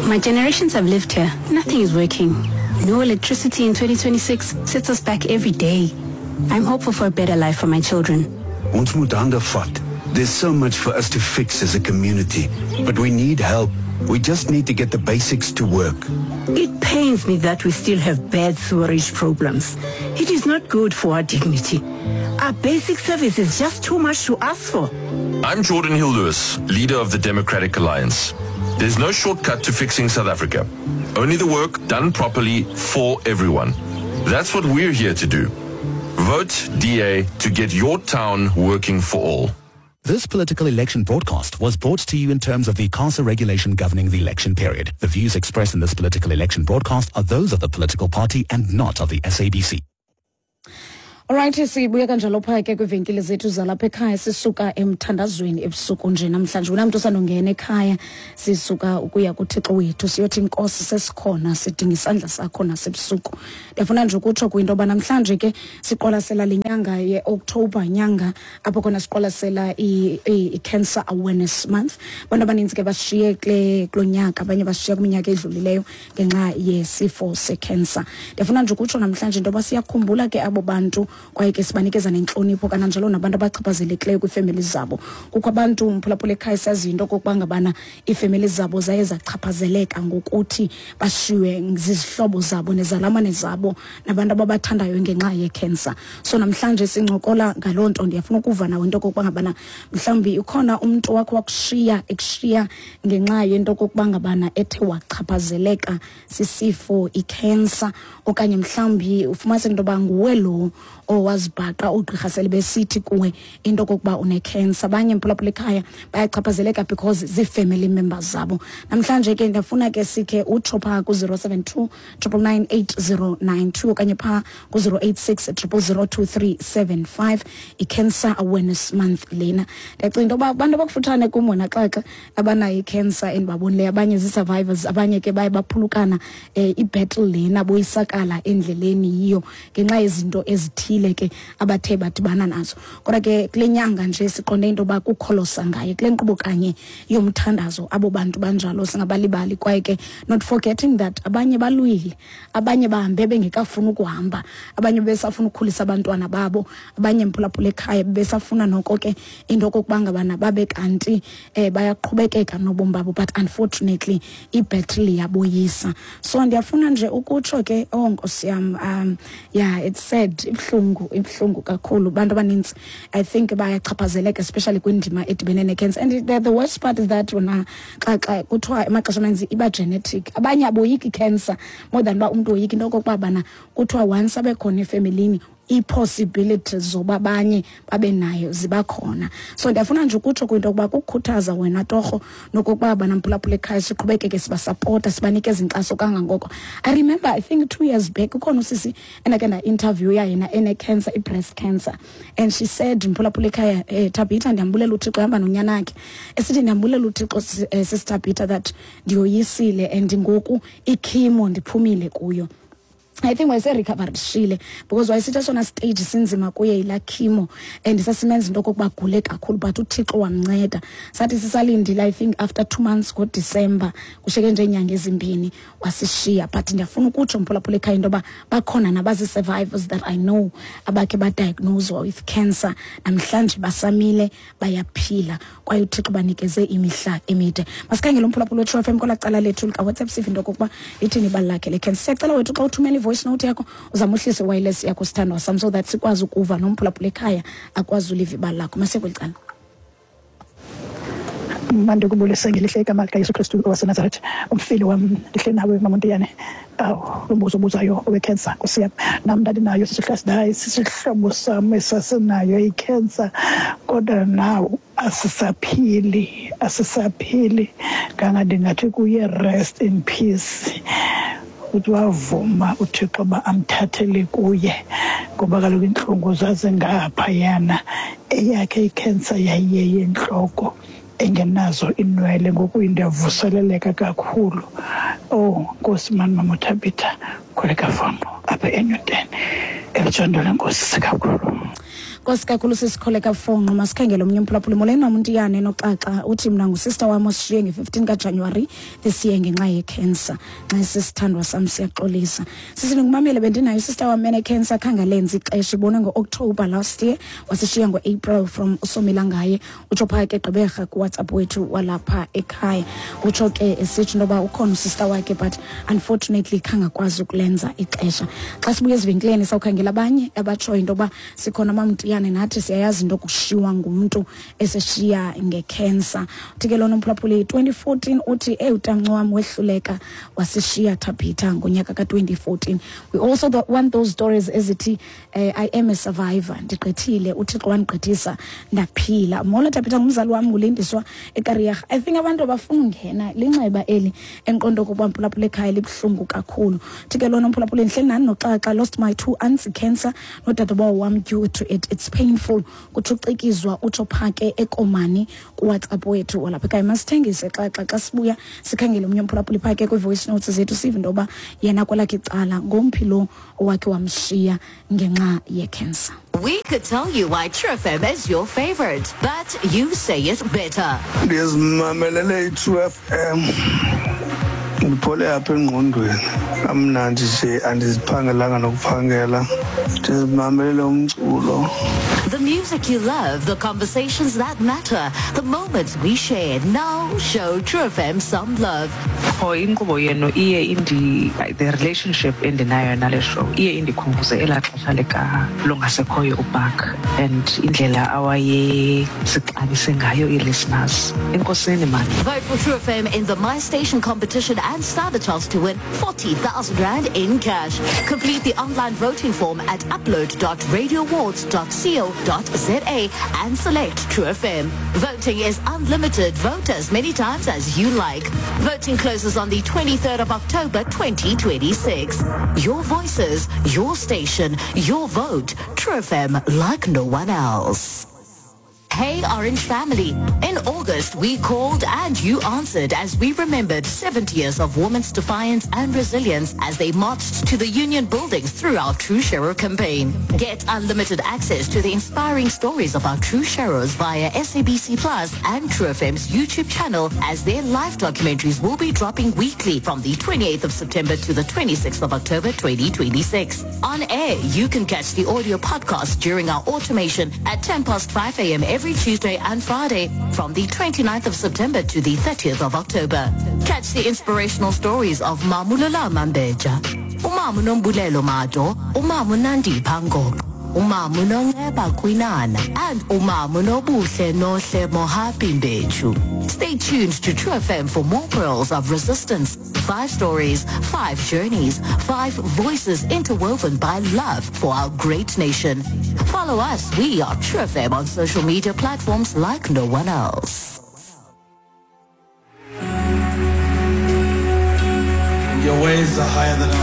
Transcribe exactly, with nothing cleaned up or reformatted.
My generations have lived here. Nothing is working. No electricity in twenty twenty-six sets us back every day. I'm hopeful for a better life for my children. Ons moet hande vat. There's so much for us to fix as a community, but we need help. We just need to get the basics to work. It pains me that we still have bad sewerage problems. It is not good for our dignity. Our basic service is just too much to ask for. I'm Jordan Hill-Lewis, leader of the Democratic Alliance. There's no shortcut to fixing South Africa. Only the work done properly for everyone. That's what we're here to do. Vote D A to get your town working for all. This political election broadcast was brought to you in terms of the ICASA regulation governing the election period. The views expressed in this political election broadcast are those of the political party and not of the S A B C. Alright, sibuya kanjalo pha ke kwivenkile zethu zalapha ekhaya, sisuka emthandazweni ebusuku nje namhlanje. Unamntu osandongena ekhaya, sisuka ukuya kuThixo wethu, siyothi Nkosi sesikhona, sidinga isandla sakho nasebusuku. Ndiyafuna nje ukutsho kwinto yoba namhlanje ke siqwalasela le nyanga ye-October, nyanga apho khona siqwalasela i-Cancer Awareness Month. Abantu abaninzi ke bashiye kule kulo nyaka, abanye bashiye kwiminyaka edlulileyo ngenxa yesifo se-cancer. Ndiyafuna nje ukutsho namhlanje into yoba siyakhumbula ke abo bantu, kwaye ke sibanikeza nentlonipho kananjalo nabantu abachaphazelekileyo kwiifemeli zabo. Kukho abantu mphulaphula ekhaya saziyo into okokuba ngabana iifemeli zabo zaye zachaphazeleka ngokuthi bashiywe zizihlobo zabo nezalamane zabo nabantu ababathandayo ngenxa ye-cancer. So namhlanje sincokola ngaloo nto. Ndiyafuna ukuva nawe into okokuba ngabana mhlawumbi ukhona umntu wakho wakushiya ekushiya ngenxa yento okokuba ngabana ethe wachaphazeleka sisifo i-cancer, okanye mhlawumbi ufumanise into yoba nguwe lo owazibhaqa ugqirha sele besithi kuwe into okokuba une-cancer. Abanye mphulaphula ekhaya bayachaphazeleka because zii-family members zabo. Namhlanje ke ndiyafuna ke sikhe utsho phaa ku-zero seven two triple nine eight zero nine two okanye phaa ku-zero eight six triple zero two three seven five. I-Cancer Awareness Month lena. Ndiyacinga into yoba abantu abakufutshane kum wena xaxa abanayo i-cancer endibabonileyo, abanye zii-survivors, abanye ke baye baphulukana um i-battle lena boyisakala endleleni yiyo ngenxa yezinto ezithile ke abathe badibana nazo. Kodwa ke kule nyanga nje siqonde into yoba kukholosa ngaye kule nkqubo kanye yomthandazo, abo bantu banjalo singabalibali, kwaye ke not forgetting that abanye balwile, abanye bahambe bengekafuni ukuhamba, abanye besafuna ukukhulisa abantwana babo, abanye mphulaphula ekhaya besafuna noko ke into okokuba ngabana babe kanti eh, bayaqhubekeka nobomi babo, but unfortunately i-battle yaboyisa. So ndiyafuna nje ukutsho ke, oh Nkosi yam, um, yeah, it's sad, ibuhlungu, ibuhlungu kakhulu. Abantu abanintsi I think bayachaphazeleka especially kwindima edibene ne-cancer. And the, the worst part is that wona xa xa kuthiwa emaxesha amaninzi iba genetic. Abanye aboyiki cancer more than uba umntu woyika into okokuba bana kuthiwa once abe khona efemelini ii-possibilities zoba abanye babe nayo ziba khona. So ndiyafuna nje ukutsho kwinto yokuba kukukhuthaza wena torho nokokuba banamphulaphula ekhaya siqhubekeke sibasapota, sibanikeza inkxaso kangangoko. I remember I think two years back ukhona usisi endakhe nda-interview-ya yena ene-cancer, i-breast cancer, and she said, mphulaphula ekhaya, eh, Tabitha, ndiyambulela uThixo, ehamba nonyana wakhe, esithi ndiyambulela uThixo eh, Sis Tabitha that ndiyoyisile and ngoku i-chemo ndiphumile kuyo. I think wayeserecoverishile because wayesithi esona stage sinzima kuye yilaa chemo and sasimenza into okokuba agule kakhulu, but uThixo wamnceda. Sathi sisalindile I think after two months ngoDisemba, kushiyeke nje iinyanga ezimbini wasishiya. But ndiyafuna ukutsho mphulaphula ekhaya into yoba bakhona nabazi-survivors that I know abakhe badiagnoswa with cancer, namhlanje basamile bayaphila kwaye uThixo banikeze imihla emide. Masikhangele umphulaphula weTru F M kwelaa cala lethu likaWhatsApp sive into okokuba ithini ibali lakhe le cancer. Siyacela wethu xa uthumela voice note yakho uzame uhlise wireless yakho sithandwa sam so that sikwazi ukuva nomphulaphula ekhaya akwazi uliva ibali lakho. Masiye kweli cala. Mandikubulise ngelihle igama likaYesu Kristu waseNazaretha, umfili wam, ndihle nawe Mamontiyane. Awu, lo mbuzo obuzayo owe-cancer, Nkosi yam, nam ndandinayo sisihlasi sisihlobo sam esasinayo i-cancer, kodwa naw asisaphili, asisaphili. Kangandingathi kuye rest in peace. Uthi wavuma uThixo uba amthathele kuye, ngoba kaloku iintlungu zazingaphayana. Eyakhe i-cancer yayiyeyentloko engenazo inwele, ngoku indiyavuseleleka kakhulu. Oh Nkosi mani Mama Thabitha, kholeka famo apha eNewton, elitshando lenkosi sikakhulu. Nkosi kakhulu sisikholeka fonqo masikhangele omnye umphulaphuli. Molweni Mamuntiyane noXaxa, uthi mna ngusister wam osishiye nge-fifteen kaJanuwari this year ngenxa yecancer. Nxa sisithandwa sam siyaxolisa. Sisi ndingumamele, bendinayo sister wam enecancer, khange alenze ixesha, ibonwe ngo-October last year, wasishiya ngo-April. From uSomila ngaye, utsho phaa ke Gqeberha kuWhatsApp wethu walapha ekhaya. Utsho ke esitsho into yoba ukhona usister wakhe, but unfortunately khange akwazi ukulenza ixesha. Xa sibuya ezivenkileni sawukhangela abanye abatshoyo into yoba sikhona Mamntiyane, nathi siyayazi into yokushiywa ngumntu eseshiya ngekhensa. Uthi ke lona umphulaphuli twenty fourteen, uthi eyi utamnci wam wehluleka wasishiya Thabitha ngonyaka ka-twenty fourteen. We also want those stories ezithi eh, I am a survivor, ndigqithile, uThixo wandigqithisa ndaphila. Molo Thabitha, ngumzali wam ngulindiswa eKariyaga. I think abantu abafuna ungena linxeba eli endiqonda ukuba mphulaphula ekhaya libuhlungu kakhulu. Uthi ke lona umphulaphuli, ndihleli nani noXaxa, lost my two aunts cancer nodadobawo wam due to it, it's painful. Kuthi ucikizwa, utsho phaa ke eKomani kuWhatsApp wethu walapha ekhaya. Masithengise Xaxa, xa sibuya sikhangele omnye umphulaphuli phaa ke kwii-voice notes zethu, sive into yoba yena kwelakhe icala ngomphi lo owakhe wamshiya ngenxa yekhensa. We could tell you why True F M is your favorite, but you say it better. Ndizimamelele i-True F M. Ndiphole apha engqondweni, kamnandi nje, andiziphangelanga nokuphangela, ndizimamelele umculo. The music you love, the conversations that matter, the moments we share. Now show True F M some love. Oh, inkqubo yenu iye indi, the relationship endinayo nale show iye indikhumbuze elaa xesha lika longasekhoyo uBark and indlela awayesixabise ngayo ii-listeners. Enkosini man. Vote for True F M in the My Station competition and stand a chance to win forty thousand rand in cash. Complete the online voting form at upload dot radio awards dot co dot za and select True F M. Voting is unlimited. Vote as many times as you like. Voting closes on the twenty-third of October twenty twenty-six. Your voices, your station, your vote. True F M, like no one else. Hey Orange Family. In August, we called and you answered as we remembered seventy years of women's defiance and resilience as they marched to the union buildings through our True Sharer campaign. Get unlimited access to the inspiring stories of our True Sharers via S A B C Plus and True F M's YouTube channel, as their live documentaries will be dropping weekly from the twenty-eighth of September to the twenty-sixth of October twenty twenty-six. On air, you can catch the audio podcast during our automation at ten past five a m every Tuesday and Friday from the twenty-ninth of September to the thirtieth of October. Catch the inspirational stories of Mamulola Mambeja, Umamu Nombulelo Mado, Umamu Nandi Pango, Umamu Nongeba Kwinana, and Umamu Nobuhle Nohle Mohapi Mbechu. Stay tuned to True F M for more pearls of resistance. Five stories, five journeys, five voices interwoven by love for our great nation. Follow us. We are True F M on social media platforms like no one else. Your ways are higher than ours.